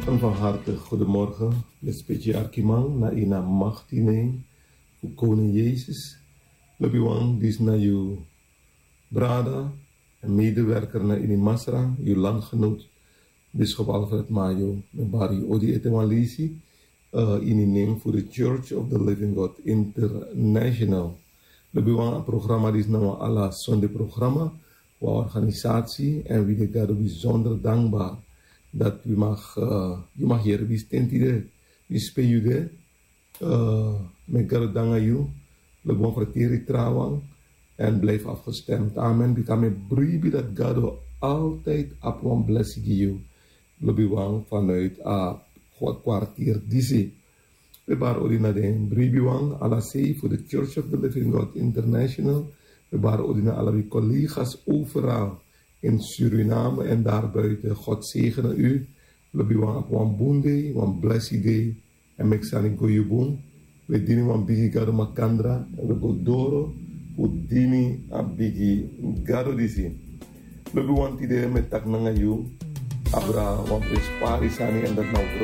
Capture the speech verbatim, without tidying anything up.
Een van harte goedemorgen, respecti arkiman, na ina machti name fu koning Jezus. Lobiwan, disna yu brada en medewerker na ini Masra, yu landgenoot, bischop Alfred Mayo, mi bari yu odi ete wan lisi, uh, ini name fu the Church of the Living God International. Lobiwan, a programma disna wan ala Sunday programma, wan organisatie, en wi de Gado bijzonder dankbaar dat wi mag, uh, yu mag hier wi stentide, wi spe yu de, uh, met Gado danga yu, lobiwan, verteri trawan, en blijf afgestemd. Amen. Bika mi bribi dat Gado altijd ap wan blessi gi yu. Lobiwan, vanuit a kwa-, kwartier disi. We bari odi na den bribiwan, ala sei fu the Church of the Living God International. We bari odi na ala wi collega's overal in Suriname en daarbuiten. God zegene u. Lobiwan, ap wan bun dei, wan blessi dei. En meki sani go yu bun. We dini wan bigi Gado makandra, en we go doro fu dini a bigi Gado disi. Lobiwan, tide mi e taki nanga yu abra wan prenspari sani, en dat na over